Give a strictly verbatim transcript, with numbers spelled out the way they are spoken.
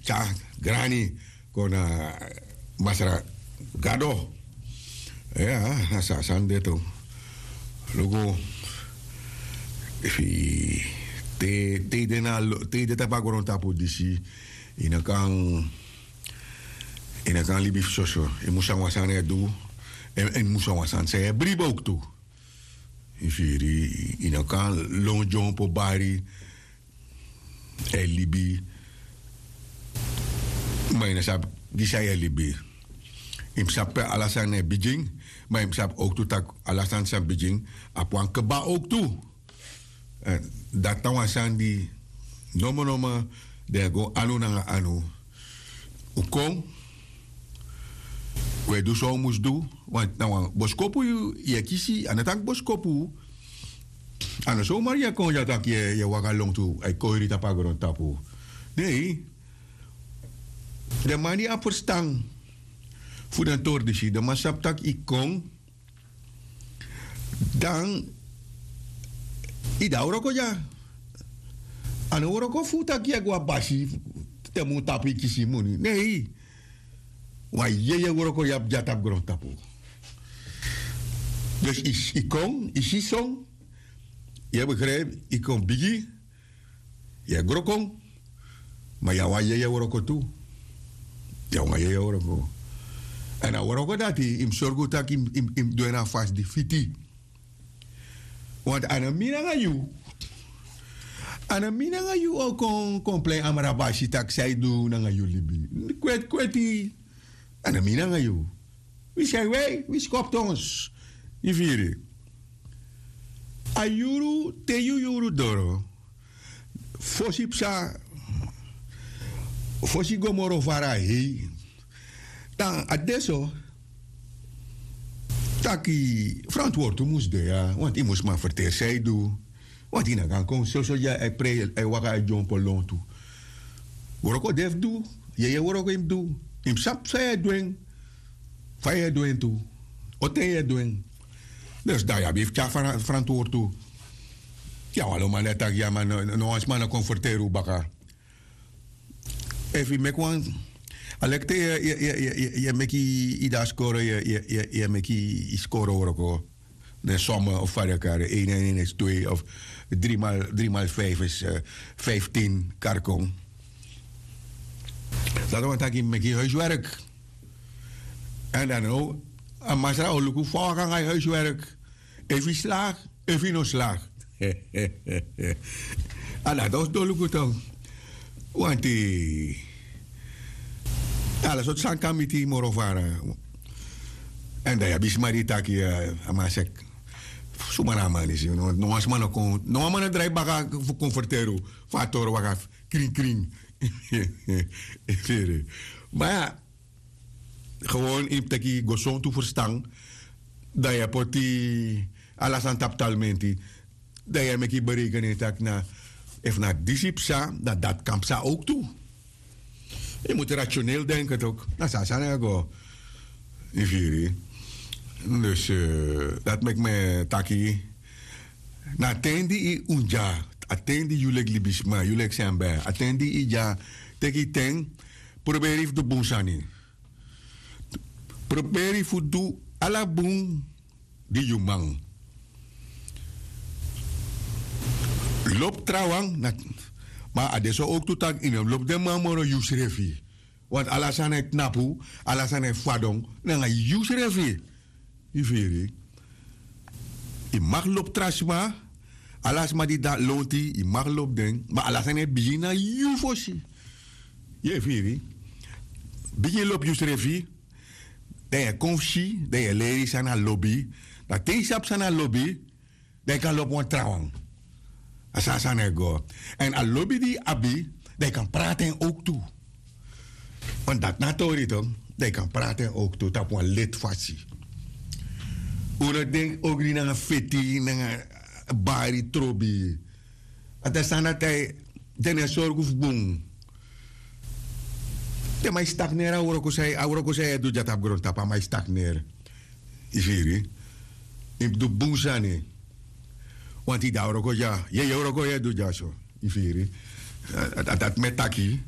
tyari grani kon na masra gado. Ya, na so a sani de tu. Luku, efu yu te yu de na te yu de tapu a grontapu disi, yu no kan yu no kan libi fu soso. Yu mus san wan sani e du. Èn yu mus san wan sani san yu e bribi owktu. Yu firi? Yu no kan lon dyompo bari e libi. Ma yu no sabi gi san yu e libi. Yu mus sabi pe ala sani e bigin. Ma yu mus sabi owktu tak' ala sani san bigin abi wan kba owktu. Dati na wan sani di nomo nomo den e go anu nanga anu. Un kon, un e du san un mus du. Wanti na wan boskopu yu e kisi a no tanki boskopu. A no somari yu e kon dya tak' yu e waka lon tu a e koiri tapu a grontapu. Nei. Den man di abi ferstan fu den tori disi den man sabi tak' yu kon, dan yu de a wroko dya. A no wroko fu taki yu e go a basi te mun tapu yu kisi yu moni nei. Wan yeye wroko yu abi dya tapu grontapu. Dus yu kon yu si son, yu e begripi, yu kon bigi, yu e gro kon. Ma yu a wan yeye wroko tu. Yu a wan yeye wroko. Èn a wroko dati yu mus sorgu tak' yu mus du en na a fasi di fiti. Want a no mi nanga yu. A no mi nanga yu o kon kon plei amrabasi tak' san yu du nanga yu libi. Kweti kweti. A no mi nanga yu. Wi san yu wei wi skoptons. Yu firi? A yuru te yu yuru doro, fosi psa, fosi go moro fara hei. Dan a de so taki frantwortu mus de ya, want yu mus man ferteri san yu du. Want yu na gan kon soso dya a e prei a e waka a e dyompo lontu. Wroko de fu du. Yeye wroko yu mus du. Yu mus sabi san yu e du en, fa yu e du en tu, o ten yu e du en. Dus dan yu abi fu tyari frantwortu. Yu a wan lo man di e taki ya man, no wan sma no kon ferteri un baka. Efu yu meki wan, a leki te yu e meki yu de a skoro, yu e meki yu skoro wroko, den some of fa den e kari en, ene en ene is twee of dri mal dri mal fif is fiftin kari kon. Dati wani taki yu mus meki yu huiswerk. Èn dan now a masra o luku fa waka nanga yu huiswerk. Efu yu slagi, efu yu no slagi. A dati o sidon luku tok. Wanti ala sortu sani kan miti yu moro fara. Èn dan yu abi sma di yu taki a man seki. Suma na a man disi? No wan sma no kon no wan man no drai baka fu kon ferteri unu fa a toro waka. Krin krin. Firi? Ma ya, gewon yu mus teki gesontu ferstan. Dan yu e poti ala sani tapu talmenti. Dan yu e meki yu bereikeni en tak' na efu na disi psa dan dati kan psa owktu. Yu mus rationeel denken tok'. Na so a sani e go. Yu firi? Dus dati meki mi e taki na ten di yu un dya, a ten di yu leki libisma yu leki sembe a ten di yu dya, teki yu ten. Proberi yu fu du bun sani. Proberi fu du ala bun di yu man. Lobi trawan. Ma a de so owktu tak' yu no mus lobi den man moro yusrefi. Want ala sani e tnapu, ala sani e fadon nanga yusrefi. Yu firi? Yu mag lobi tra sma. Ala sma di de na lonti yu mag lobi den ma ala sani e bigin na yu fosi. Yu e firi? Bigin lobi yusrefi. Dan yu e kon fu si dan yu e leri san na lobi. Dan te yu sabi san na lobi, dan yu kan lobi wan trawan. A so a sani e go. Èn a lobi di yu abi, dan yu kan prati en owktu. Want dati na a tori tok'. Dan yu kan prati en owktu tapu wan leti fasi. Un no denki ogri nanga feti nanga bari trobi. A ta sani dati a e den no e sorgu fu bun. Den man e stagneri a wroko san yu e du dya tapu grontapu a man e stagneri. Yu firi? Yu mus du bun sani. Wanti yu de a wroko dya yeye wroko yu e du dya so. Yu firi? A dati mi e taki.